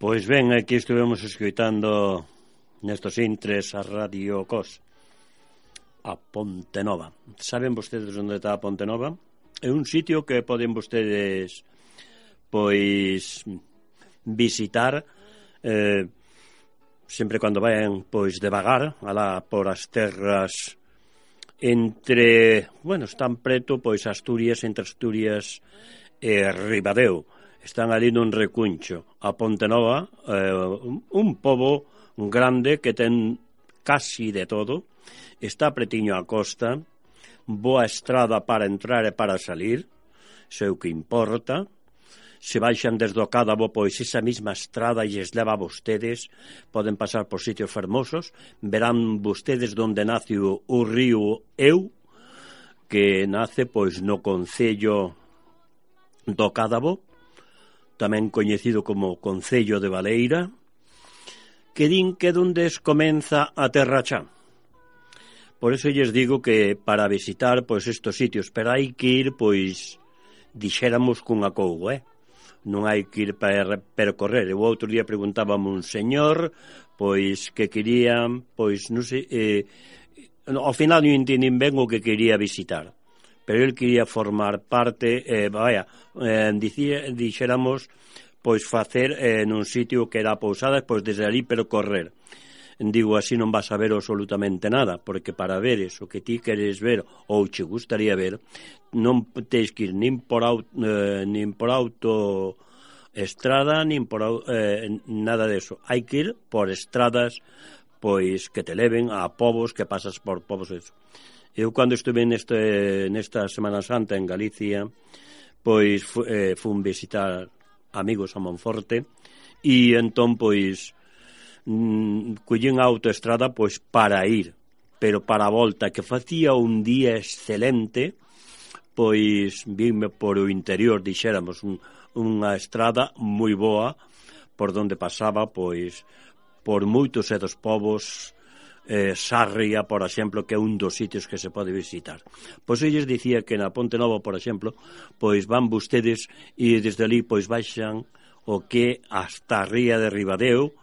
Pois ben, aquí estivemos escoitando nestos intres a Radio Cos, a Ponte Nova. Saben vostedes onde está a Ponte Nova? É un sitio que poden vostedes pois visitar sempre cando vayan pois devagar alá por as terras entre, bueno, están preto pois Asturias, entre Asturias e Ribadeo. Están ali nun recuncho. A Ponte Nova, un pobo grande que ten casi de todo, está pretiño á costa, boa estrada para entrar e para salir, sei o que importa. Se baixan desde o Cádabo, pois esa mesma estrada lles leva a vostedes, poden pasar por sitios fermosos, verán vostedes donde nace o río Eu, que nace pois no concello do Cádabo, tamén coñecido como Concello de Baleira, que din que donde comeza a Terra Chá. Por eso lles digo que para visitar pois estos sitios, pero hai que ir, pois, dixéramos cun acougo, non hai que ir para percorrer. O outro día preguntábame un señor, pois, que quería, pois, non sei, ao final non entendín ben o que quería visitar, pero el quería formar parte, dixéramos, pois facer nun sitio que era a Pousada, pois desde ali percorrer. Digo, así non vas a ver absolutamente nada, porque para ver eso que ti queres ver ou che gustaría ver, non tens que ir nin por autoestrada, nin por nada deso. Hai que ir por estradas pois que te leven a povos, que pasas por povos eso. Eu, cando estuve nesta Semana Santa en Galicia, pois fun visitar amigos a Monforte, e entón, pois, collín a autoestrada, pois, para ir, pero para a volta, que facía un día excelente, pois, vime por o interior, dixéramos, unha estrada moi boa, por donde pasaba, pois, por moitos e dos povos, Sarria, por exemplo, que é un dos sitios que se pode visitar. Pois eu lles dicía que na Ponte Nova, por exemplo, pois van vostedes e desde ali pois baixan o que hasta a ría de Ribadeo,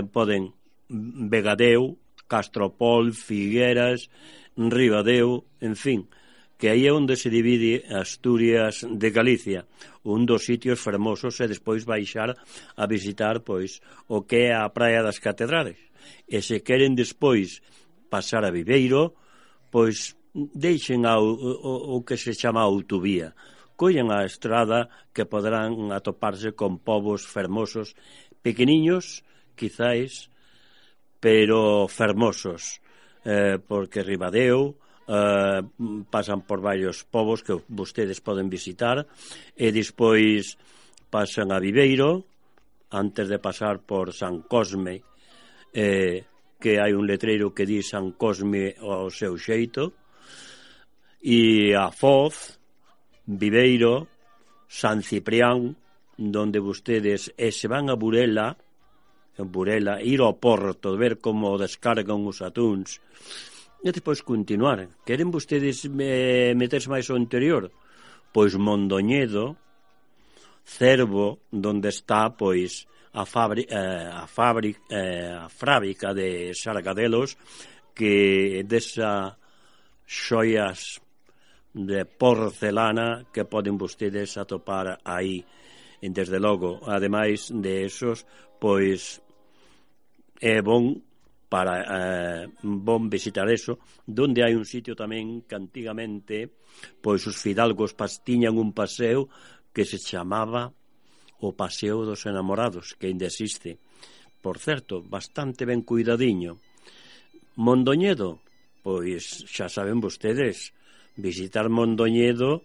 poden Vegadeo, Castropol, Figueras, Ribadeo, en fin, que aí é onde se divide Asturias de Galicia, un dos sitios fermosos, e despois baixar a visitar pois o que é a Praia das Catedrales. E se queren despois pasar a Viveiro, pois deixen o que se chama autovía, collen a estrada, que poderán atoparse con povos fermosos, pequeniños, quizáis, pero fermosos, porque Ribadeo pasan por varios povos que vostedes poden visitar, e despois pasan a Viveiro, antes de pasar por San Cosme, que hai un letreiro que di San Cosme ao seu xeito, e a Foz, Viveiro, San Ciprián, donde vostedes se van a Burela, ir ao Porto, ver como descargan os atúns, e depois continuar. Queren vostedes meterse máis ao interior? Pois Mondoñedo, Cervo, donde está pois a fábrica de Sargadelos, que desa xoias de porcelana que poden vostedes atopar aí, desde logo. Ademais de esos, pois é bon visitar eso, donde hai un sitio tamén que antigamente pois os fidalgos tiñan un paseo que se chamaba o Paseo dos Enamorados, que ainda existe, por certo, bastante ben cuidadiño, Mondoñedo, pois xa saben vostedes, visitar Mondoñedo,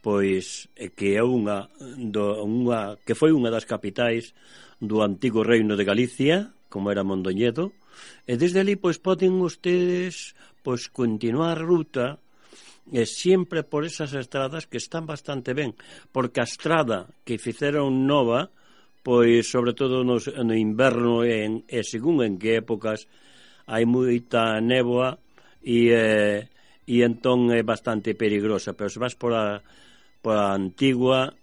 pois que é que foi unha das capitais do antigo reino de Galicia, como era Mondoñedo, e desde ali pois poden ustedes pois continuar a ruta e sempre por esas estradas que están bastante ben, porque a estrada que fixeron nova, pois sobre todo no inverno e según en que épocas hai moita néboa e entón é bastante peligrosa, pero se vas por a antigua,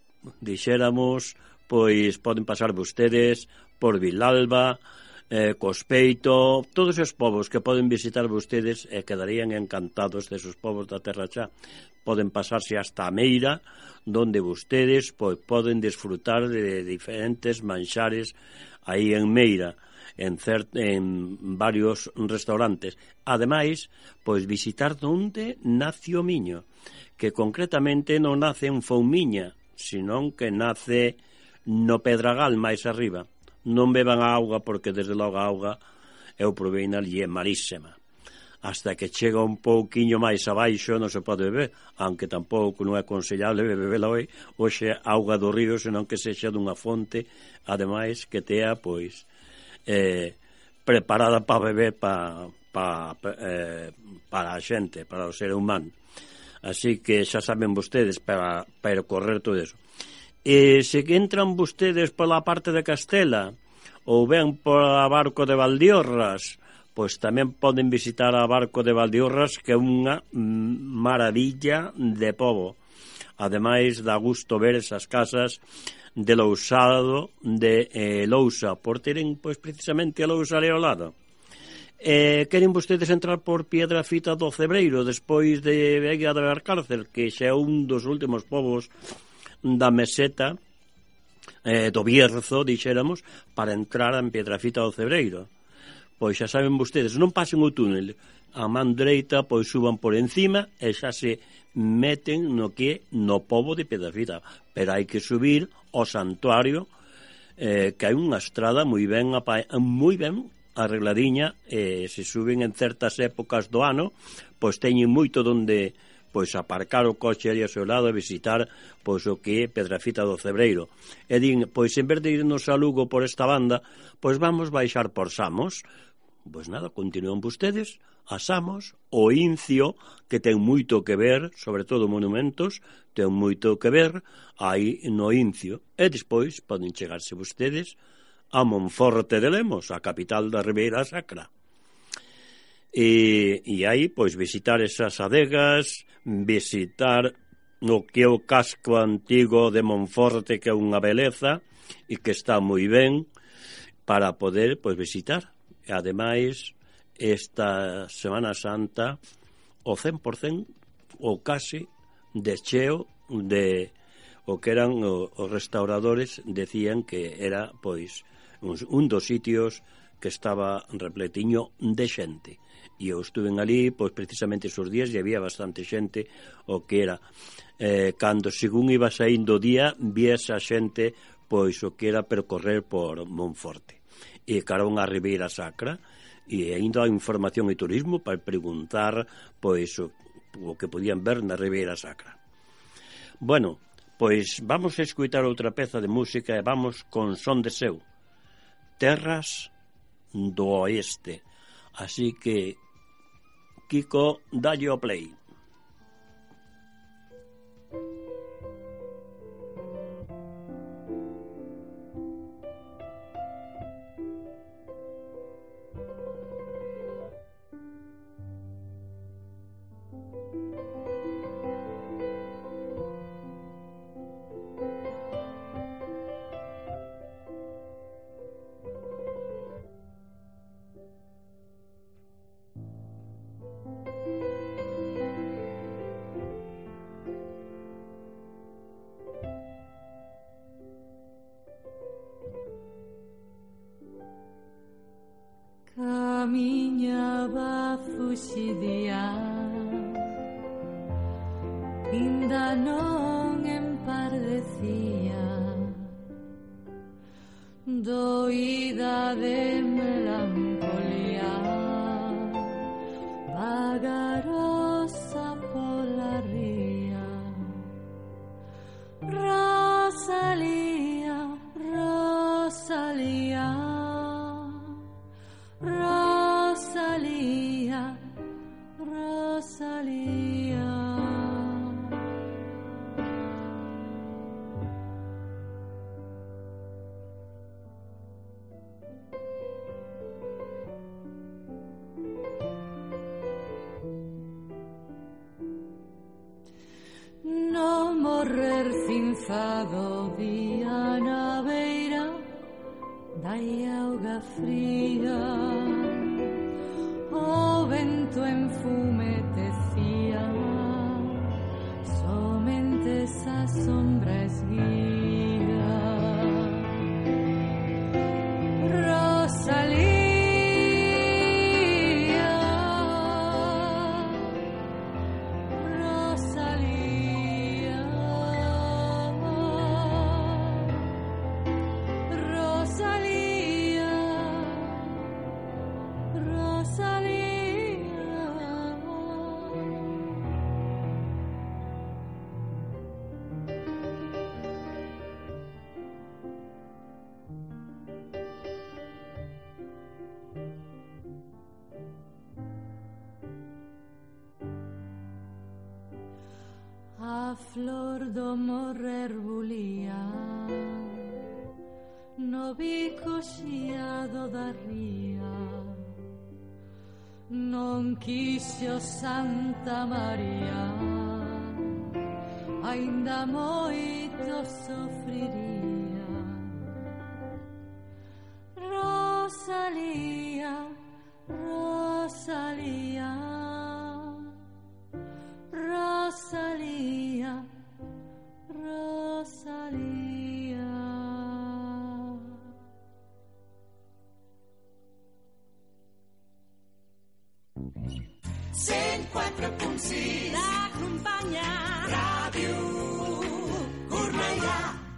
dixéramos, pois poden pasar vostedes por Vilalba, Cospeito, todos os povos que poden visitar vostedes e quedarían encantados desos povos da terra xa. Poden pasarse hasta a Meira, donde vostedes pois poden desfrutar de diferentes manxares aí en Meira, en varios restaurantes. Ademais, pois visitar onde nace o miño, que concretamente non nace en Foumiña, senón que nace no Pedragal máis arriba. Non beban a auga porque desde logo a auga eu probei na e é malísima. Hasta que chega un pouquiño máis abaixo non se pode beber, aunque tampouco non é aconsellable bebela hoxe auga do río, senón que sexa dunha fonte, ademais que tea pois preparada para beber para a xente, para o ser humano. Así que xa saben vostedes para percorrer todo eso. E se entran vostedes pola parte de Castela ou ben por a Barco de Valdiorras, pois tamén poden visitar a Barco de Valdiorras, que é unha maravilla de pobo. Ademais, dá gusto ver esas casas de Lousado de Lousa, por teren pois precisamente a Lousa ali ao lado. Queren vostedes entrar por Piedrafita do Cebreiro despois de Vega de Valcárcel, que xa é un dos últimos povos da meseta do Bierzo, dixéramos, para entrar en Piedrafita do Cebreiro. Pois xa saben vostedes, non pasen o túnel, a man dereita pois suban por encima e xa se meten no pobo de Piedrafita, pero hai que subir ao santuario, que hai unha estrada moi ben arregladiña, e se suben en certas épocas do ano, pois teñen moito donde pois aparcar o coche ali ao seu lado e visitar pois o que é Piedrafita do Cebreiro. E din, pois en vez de irnos a Lugo por esta banda, pois vamos baixar por Samos. Pois nada, continúan vostedes a Samos, o Incio, que ten moito que ver, sobre todo monumentos, ten moito que ver aí no Incio. E despois poden chegarse vostedes a Monforte de Lemos, a capital da Ribeira Sacra. E aí, pois, visitar esas adegas, visitar o que é o casco antigo de Monforte, que é unha beleza e que está moi ben para poder, pois, visitar. E ademais, esta Semana Santa, o 100% ou casi de cheo de o que eran os restauradores, decían que era, pois, un dos sitios que estaba repletiño de xente. E eu estuve ali, pois precisamente esos días, e había bastante xente, o que era cando según iba saindo o día, víase a xente pois o que era percorrer por Monforte e carón a Ribeira Sacra, e ainda a información e turismo para preguntar pois o que podían ver na Ribeira Sacra. Bueno, pois vamos a escutar outra peza de música e vamos con Son de Seu, Terras do Oeste. Así que Kiko, dalle o play. Camiñaba fuxidía, inda non empardecía, doída de melancolía, vagarosa pola ría. Rosalía, Rosalía, Rosalía, Rosalía. No morrer cinzado día na beira da auga fría. O vento enfumetecía, somente esa sombra esguía. Rosalía, a flor do morrer bulía no bico xiado da ría. Non quixo Santa María, aínda moito sofriría. Rosalía, Rosalía, Rosalía, Rosalía. Cent 4.6 T'acompanya Ràdio